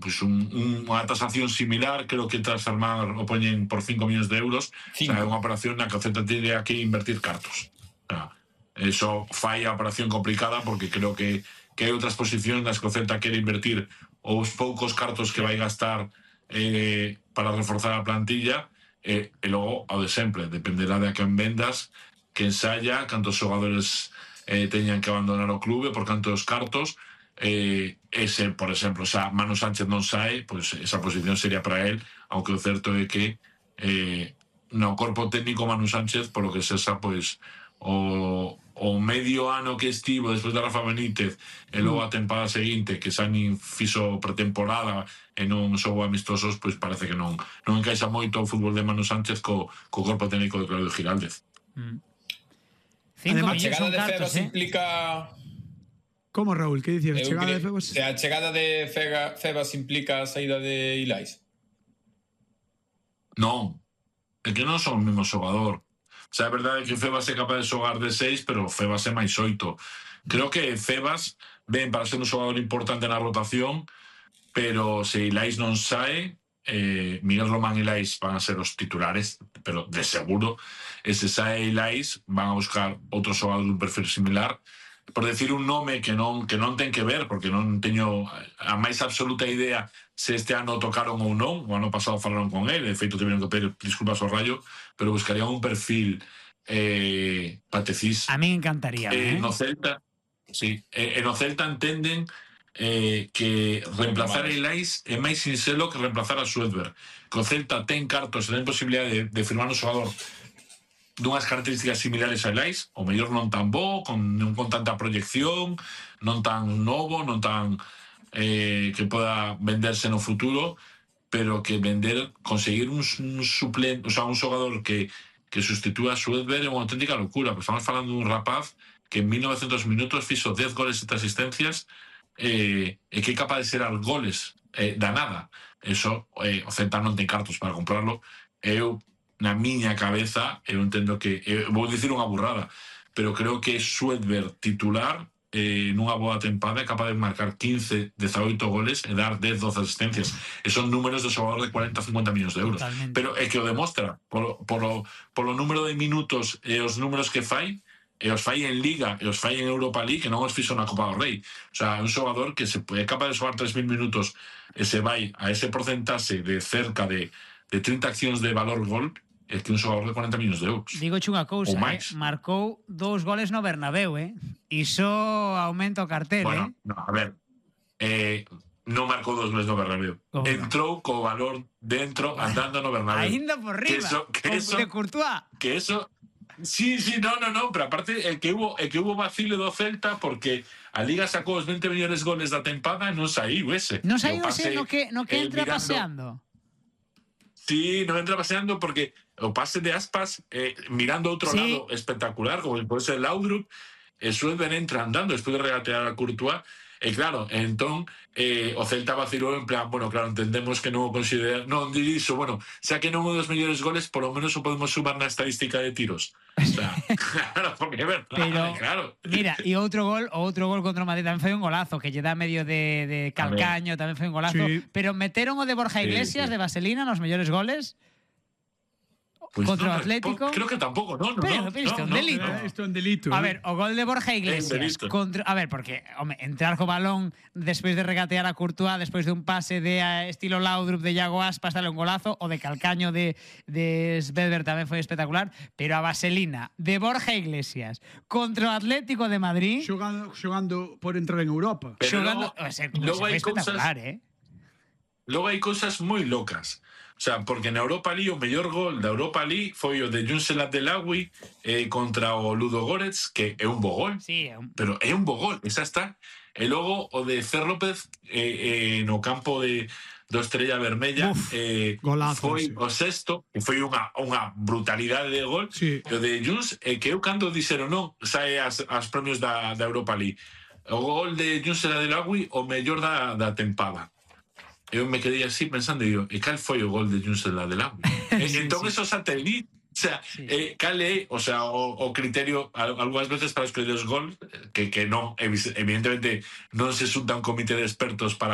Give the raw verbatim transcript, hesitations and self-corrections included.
pues un, unha tasación similar, creo que transformar o poñen por cinco millóns de euros, o sea, é unha operación na que o Celta tendría que invertir cartos. O sea, eso fai a operación complicada porque creo que, que hai outras posicións nas que o Celta quere invertir os poucos cartos que vai gastar eh, para reforzar a plantilla, eh, e logo, ao de sempre, dependerá de a quen vendas, que ensaya, cantos xogadores eh, teñan que abandonar o clube, por cantos cartos. Eh, ese, por exemplo, xa Manu Sánchez non sae, pois esa posición sería para él, aunque o certo é que eh, no corpo técnico Manu Sánchez, polo que sexa, pois o, o medio ano que estivo despois de Rafa Benítez e logo a tempada seguinte que xa nin fixo pretemporada e non xogo amistosos, pois parece que non non encaixa moito o fútbol de Manu Sánchez co, co corpo técnico de Claudio Giraldez. Mm. Además, a chegada de Febas eh? implica... Como, Raúl? Que dicías? A chegada de Febas? A chegada de Fega, Febas implica a saída de Ilais? Non, é que non son o mesmo xogador. O sea, é verdade que Febas é capaz de xogar de seis, pero Febas é máis oito. Creo que Febas ven para ser un xogador importante na rotación, pero se Ilais non sae, eh, Miguel Román e Ilais van a ser os titulares, pero de seguro. E se sae Ilais, van a buscar outro xogador dun perfil similar, por decir un nome que non que non ten que ver, porque non teño a máis absoluta idea se este ano tocaron ou non. O ano pasado falaron con ele, de feito tiveron que pedir disculpas ao Rayo, pero buscarían un perfil eh, Patecís. A mí encantaría, eh, eh, no Celta, sí, eh, no Celta entenden eh, que reemplazar a Ilais é máis sinxelo que reemplazar a Suedberg, que o Celta ten cartos e ten posibilidad de, de firmar un xogador dunhas características similares a Ilais, o mellor non tan bo, con, non con tanta proyección, non tan novo, non tan eh, que poda venderse no futuro, pero que vender, conseguir un, un suplente, o sea, un xogador que, que sustitúa a Suedberg é unha auténtica locura, porque estamos falando dun rapaz que en mil novecientos minutos fixo dez goles e sete asistencias eh, e que é capaz de ser al goles eh, da nada. Eso, eh, o Celta non ten cartos para comprarlo. Eu na miña cabeza, eu entendo que eu vou dicir unha burrada, pero creo que Suedberg titular eh, nunha boa tempada é capaz de marcar quince, dezaoito goles e dar dez, doce asistencias. E son números de xogador de cuarenta, cincuenta millóns de euros. Totalmente. Pero é que o demostra polo, polo, polo número de minutos e os números que fai, e os fai en Liga e os fai en Europa League, que non os fixo na Copa do Rei. O sea, é un xogador que se é capaz de xogar tres mil minutos e se vai a ese porcentaxe de cerca de, de trinta accións de valor gol, é que un xogador de cuarenta millóns de euros. Digo unha cousa, eh? Marcou dous goles no Bernabéu, eh? Iso aumenta o cartel, bueno, eh? No, a ver, eh, non marcou dous goles no Bernabéu. Oh, entrou co valor dentro, andando no Bernabéu. Ainda por riba, que eso, que eso, de Courtois. Que eso... Sí, sí, no, no, no, pero aparte é que hubo, é que hubo vacile do Celta porque a Liga sacou os veinte millóns goles da tempada e non saiu ese. Non saiu ese no que, no que entra mirando, paseando? Sí, non entra paseando porque o pase de Aspas eh, mirando outro sí. lado espectacular, como por eso el Laudrup, e Suedberg entra andando despois de regatear a Courtois. E claro, entón eh, o Celta vacilou en plan, bueno, claro, entendemos que non o considera, non dixo, bueno, xa que non o dos mellores goles, por lo menos o podemos sumar na estadística de tiros. O sea, claro, porque é verdade, pero, claro. Mira, e outro gol, o outro gol contra o Madrid tamén foi un golazo, que lle dá medio de, de calcaño, tamén foi un golazo, sí. Pero meteron o de Borja Iglesias, sí, sí. de Vaselina, nos mellores goles. Pues contra no, o Atlético. Creo que tampouco, no, no, pero, no, pero isto é no, un delito. No, isto é un delito. A ver, o gol de Borja Iglesias contra, a ver, porque home, entrar co balón despois de regatear a Courtois, despois de un pase de uh, estilo Laudrup de Iago Aspas, dale un golazo, o de calcaño de de Svedberg tamén foi espectacular, pero a Vaselina de Borja Iglesias contra o Atlético de Madrid, xogando xogando por entrar en Europa. Pero xogando, logo, o sea, logo hai espectacular, cousas, eh. Logo hai cousas moi locas. O sea, porque na Europa League o mellor gol da Europa League foi o de Youssel Abdellaoui eh, contra o Ludo Goretz, que é un bo gol, sí, é un... pero é un bo gol, esa está. E logo o de Fer López eh, eh, no campo de do Estrella Vermella, Uf, eh, golazo, foi sí. o sexto, que foi unha, unha brutalidade de gol, sí. E o de Junts, eh, que eu cando dixeron non, sae as, as premios da, da Europa League. O gol de Youssel Abdellaoui o mellor da, da tempada. Eu me quedei así pensando, e digo, e cal foi o gol de Youssel Abdellaoui? sí, entón, sí. Eso satélite, o sea, sí. eh, cal é, o sea, o, o criterio, algunhas veces para escolher os gol, que, que non, evidentemente, non se xunta un comité de expertos para